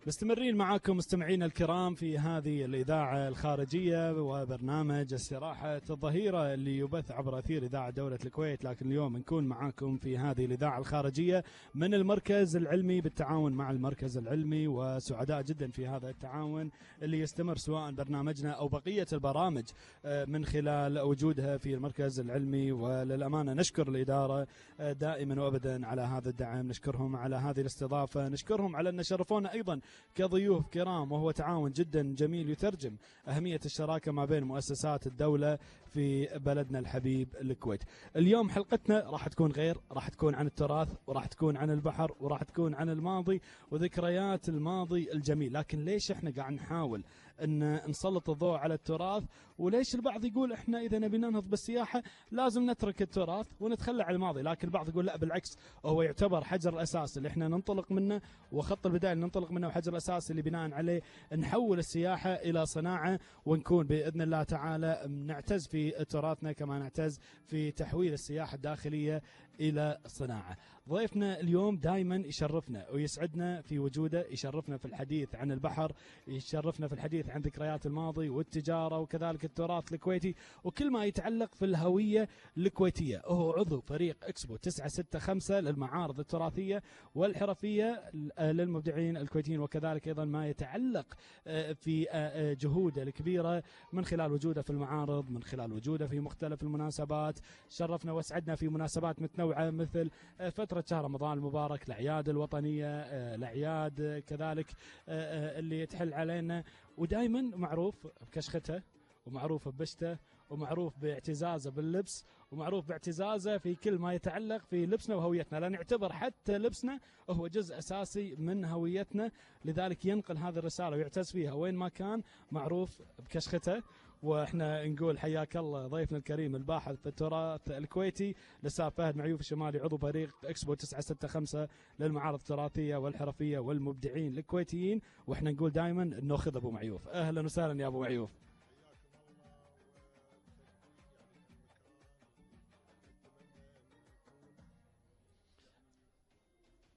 مستمرين معاكم مستمعينا الكرام في هذه الإذاعة الخارجية وبرنامج استراحة الظهيرة اللي يبث عبر أثير إذاعة دولة الكويت. لكن اليوم نكون معاكم في هذه الإذاعة الخارجية من المركز العلمي بالتعاون مع المركز العلمي، وسعداء جدا في هذا التعاون اللي يستمر سواء برنامجنا أو بقية البرامج من خلال وجودها في المركز العلمي. وللأمانة نشكر الإدارة دائما وأبدا على هذا الدعم، نشكرهم على هذه الاستضافة، نشكرهم على أن شرفونا أيضا كضيوف كرام، وهو تعاون جدا جميل يترجم أهمية الشراكة ما بين مؤسسات الدولة في بلدنا الحبيب الكويت. اليوم حلقتنا راح تكون غير، راح تكون عن التراث، وراح تكون عن البحر، وراح تكون عن الماضي وذكريات الماضي الجميل. لكن ليش احنا قاعد نحاول ان نسلط الضوء على التراث؟ وليش البعض يقول احنا اذا نبي ننهض بالسياحة لازم نترك التراث ونتخلى عن الماضي؟ لكن البعض يقول لا بالعكس، هو يعتبر حجر الاساس اللي احنا ننطلق منه، وخط البداية اللي ننطلق منه، وحجر الاساس اللي بناء عليه نحول السياحة الى صناعة، ونكون باذن الله تعالى نعتز في تراثنا كما نعتز في تحويل السياحة الداخلية الى صناعة. ضيفنا اليوم دائما يشرفنا ويسعدنا في وجوده، يشرفنا في الحديث عن البحر، يشرفنا في الحديث عن ذكريات الماضي والتجارة وكذلك التراث الكويتي وكل ما يتعلق في الهوية الكويتية. هو عضو فريق اكسبو 965 للمعارض التراثية والحرفية للمبدعين الكويتيين، وكذلك ايضا ما يتعلق في جهوده الكبيرة من خلال وجوده في المعارض، من خلال وجوده في مختلف المناسبات. شرفنا واسعدنا في مناسبات متنوعة مثل فترة شهر رمضان المبارك، الأعياد الوطنية، الأعياد كذلك اللي تحل علينا، ودائما معروف بكشخته ومعروف ببشته ومعروف باعتزازه باللبس ومعروف باعتزازه في كل ما يتعلق في لبسنا وهويتنا، لا نعتبر حتى لبسنا هو جزء أساسي من هويتنا. لذلك ينقل هذه الرسالة ويعتز فيها وين ما كان، معروف بكشخته. واحنا نقول حياك الله ضيفنا الكريم الباحث في التراث الكويتي الاستاذ فهد معيوف الشمالي، عضو فريق اكسبو 965 للمعارض التراثيه والحرفيه والمبدعين الكويتيين. واحنا نقول دائما ناخذ ابو معيوف. اهلا وسهلا يا ابو معيوف.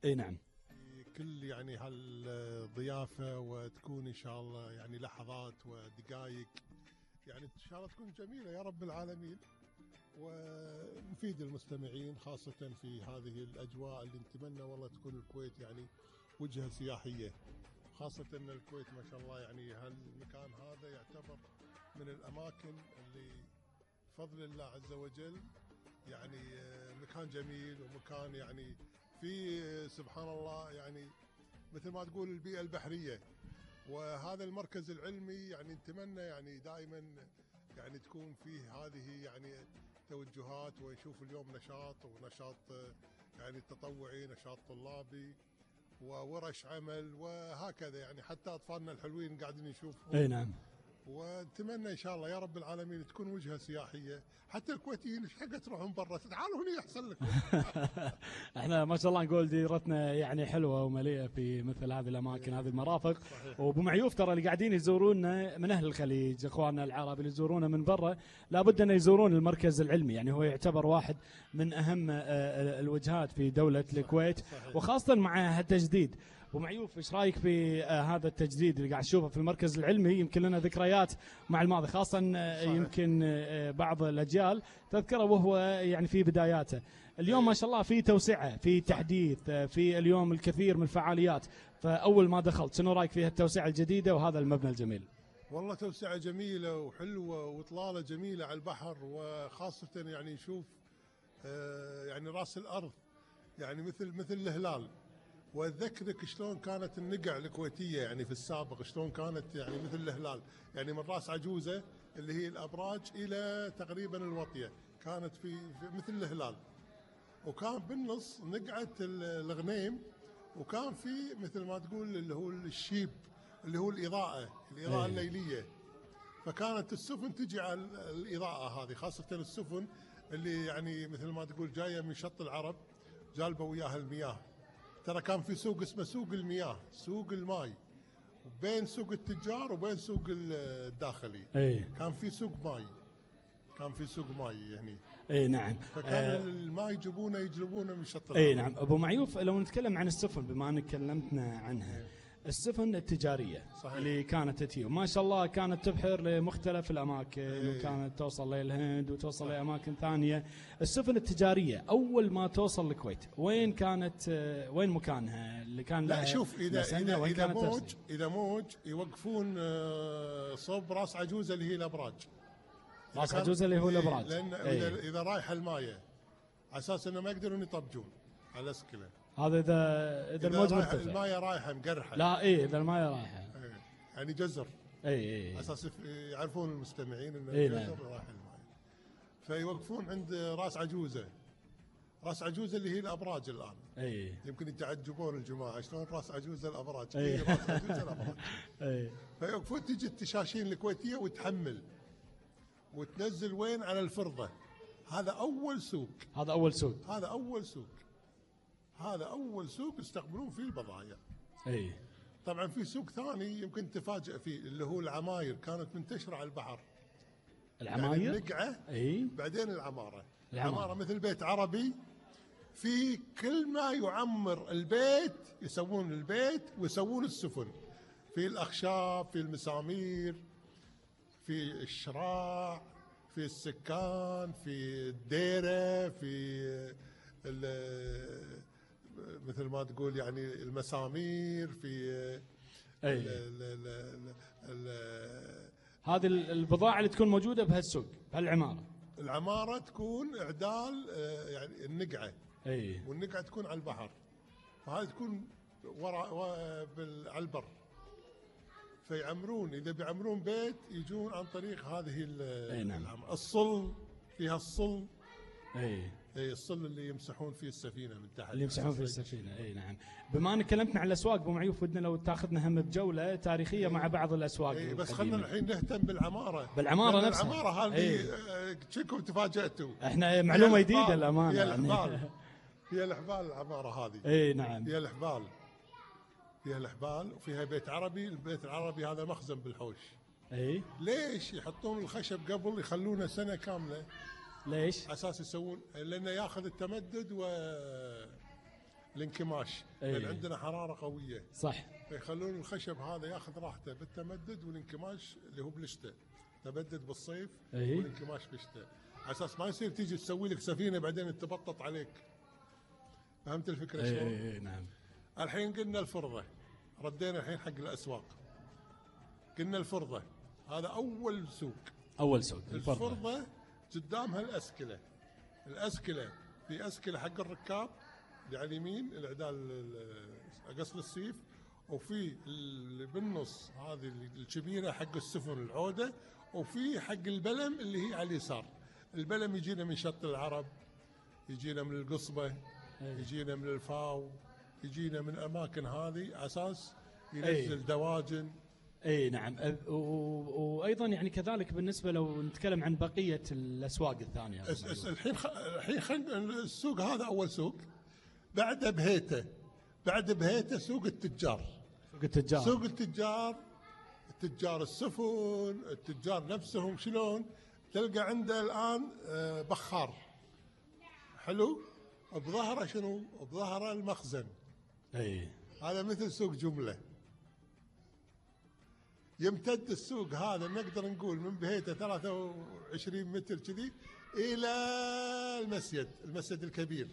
اي نعم، كل يعني هالضيافه، وتكون ان شاء الله يعني لحظات ودقائق يعني ان شاء الله تكون جميله يا رب العالمين، ونفيد المستمعين خاصه في هذه الاجواء اللي نتمنى والله تكون الكويت يعني وجهه سياحيه، خاصه ان الكويت ما شاء الله يعني هالمكان هذا يعتبر من الاماكن اللي بفضل الله عز وجل يعني مكان جميل، ومكان يعني في سبحان الله يعني مثل ما تقول البيئة البحرية. وهذا المركز العلمي يعني نتمنى يعني دائما يعني تكون فيه هذه يعني توجهات، ونشوف اليوم ونشاط يعني تطوعي، نشاط طلابي، وورش عمل، وهكذا يعني حتى أطفالنا الحلوين قاعدين يشوفوا. اي نعم. ونتمنى ان شاء الله يا رب العالمين تكون وجهه سياحيه، حتى الكويتيين ايش حق تروحون برا، تعالوا هنا احسن لكم. احنا ما شاء الله نقول ديرتنا يعني حلوه ومليئه في مثل هذه الاماكن، هذه المرافق. وابو معيوف ترى اللي قاعدين يزورونا من اهل الخليج، اخواننا العرب اللي يزورونا من برا لابد ان يزورون المركز العلمي، يعني هو يعتبر واحد من اهم الوجهات في دوله الكويت، وخاصه مع التجديد. ابو معيوف ايش رايك في هذا التجديد اللي قاعد نشوفه في المركز العلمي؟ يمكن لنا ذكريات مع الماضي، خاصه يمكن بعض الاجيال تذكره وهو يعني في بداياته. اليوم ما شاء الله في توسعه، في تحديث، في اليوم الكثير من الفعاليات. فاول ما دخلت شنو رايك في التوسعه الجديده وهذا المبنى الجميل؟ والله توسعه جميله وحلوه واطلاله جميله على البحر، وخاصه يعني نشوف يعني راس الارض يعني مثل الهلال. واذكرك شلون كانت النقع الكويتيه يعني في السابق، شلون كانت يعني مثل الهلال، يعني من راس عجوزه اللي هي الابراج الى تقريبا الوطيه، كانت في مثل الهلال، وكان بالنص نقعه الغنيم، وكان في مثل ما تقول اللي هو الشيب اللي هو الاضاءه الليليه. فكانت السفن تجي على الاضاءه هذه، خاصه السفن اللي يعني مثل ما تقول جايه من شط العرب جالبه وياها المياه. ترى كان في سوق اسمه سوق المياه، سوق الماي، بين سوق التجار وبين سوق الداخلي. كان في سوق ماي، كان في سوق ماي يعني. اي نعم. فكان الماء يجلبونه من شط اي العرب. نعم ابو معيوف، لو نتكلم عن السفن بما انك كلمتنا عنها، السفن التجاريه صحيح. اللي كانت تتي ما شاء الله كانت تبحر لمختلف الاماكن وكانت توصل للهند وتوصل لاماكن ثانيه. السفن التجاريه اول ما توصل الكويت وين كانت، وين مكانها اللي كان لا لها شوف، اذا موج يوقفون صوب راس عجوزه اللي هي الابراج. راس عجوزه اللي هو الابراج، لان اذا رايح المايه على اساس انه ما يقدرون يطبجون على الاسكله. هذا اذا الموج مرتفع، المايه رايحه مقرحه. لا اذا المايه رايحه يعني جزر. اي اساس يعرفون المستمعين انه جزر رايح المايه. فيوقفون عند راس عجوزه. راس عجوزه اللي هي الابراج الان. يمكن يتعجبون الجماعه شلون راس عجوزه الابراج. راس عجوزه الابراج. فيوقفون تجي التشاشين الكويتيه وتحمل وتنزل وين على الفرضه. هذا اول سوق. هذا اول سوق يستقبلون فيه البضائع. طبعا في سوق ثاني يمكن تفاجئ فيه اللي هو العماير، كانت منتشره على البحر. العماير يعني النقعه بعدين العماره مثل بيت عربي، في كل ما يعمر البيت يسوون البيت ويسوون السفن، في الاخشاب، في المسامير، في الشراع، في السكان، في الديره، في مثل ما تقول يعني المسامير، في هذه البضاعة اللي تكون موجودة بهالسوق بهالعمارة. العمارة تكون إعدال يعني النقعة. والنقعة تكون على البحر، وهذه تكون على البر. فيعمرون، إذا بيعمرون بيت يجون عن طريق هذه العمارة. الصل فيها الصل. الصل اللي يمسحون فيه السفينه من تحت. نعم. بما انك كلمتنا عن الاسواق ابو معيوف، ودنا لو تاخذنا هم بجوله تاريخيه مع بعض الاسواق. بس خلينا الحين نهتم بالعماره نفسها. العماره هذه شكم تفاجاتوا. احنا معلومه جديده الامانه. هي الحبال العماره هذه. نعم. هي الحبال وفيها بيت عربي. البيت العربي هذا مخزن بالحوش. ليش يحطون الخشب قبل يخلونه سنه كامله؟ ليش؟ اساس يسوون لانه ياخذ التمدد والانكماش. لان عندنا حراره قويه. صح. فيخلون الخشب هذا ياخذ راحته بالتمدد والانكماش اللي هو بالشتاء. تمدد بالصيف والانكماش بالشتاء، على اساس ما يصير تيجي تسوي لك سفينه بعدين تبطط عليك. فهمت الفكره شلون؟ نعم. الحين قلنا الفرضه، ردينا الحين حق الاسواق. قلنا الفرضه هذا اول سوق. الفرضه قدامها الأسكلة في أسكلة حق الركاب اللي على اليمين العدال قصر السيف، وفي اللي بالنص هذه الكبيرة حق السفن العودة، وفي حق البلم اللي هي على اليسار. البلم يجينا من شط العرب، يجينا من القصبة، يجينا من الفاو، يجينا من أماكن هذه أساس ينزل دواجن. نعم. وايضا يعني كذلك بالنسبه لو نتكلم عن بقيه الاسواق الثانيه. الحين السوق هذا اول سوق. بعد بهيته سوق التجار. التجار السفن، التجار نفسهم شلون تلقى عنده الان بخار حلو بظهره شنو؟ بظهره المخزن. هذا مثل سوق جمله. يمتد السوق هذا نقدر نقول من بهيته 23 متر كذي الى المسجد الكبير.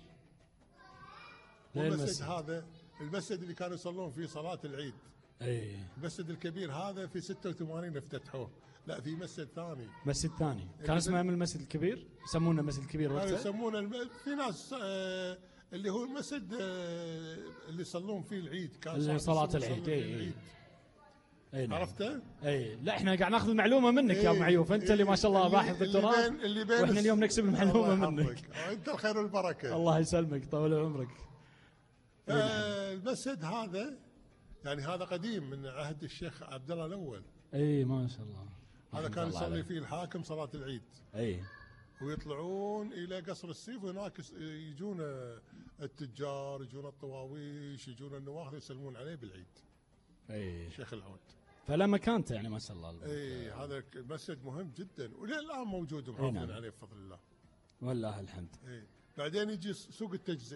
والمسجد هذا المسجد اللي كانوا يصلون فيه صلاة العيد. المسجد الكبير هذا في 86 افتتحوه. لا في مسجد ثاني. كان اسمه من المسجد الكبير، يسمونه المسجد الكبير وقتها. يسمونه في ناس اللي هو المسجد اللي يصلون فيه العيد، كان صلاة العيد. نعم. عرفته؟ لا احنا قاعد ناخذ معلومه منك يا ابو معيوف. انت اللي ما شاء الله باحث بالتراث، واحنا اليوم نكسب المعلومه منك. انت الخير والبركه. الله يسلمك، طول عمرك. المسجد هذا يعني هذا قديم من عهد الشيخ عبد الله الاول. ما شاء الله. هذا كان يصلي فيه الحاكم صلاه العيد. ويطلعون الى قصر السيف، وهناك يجون التجار، يجون الطواويش، يجون النواخذ يسلمون عليه بالعيد. شيخ العود. فلا مكانته يعني ما شاء الله. هذا المسجد مهم جدا وللان موجود ومحافظين عليه بفضل الله. والله الحمد. بعدين يجي سوق التجزئة.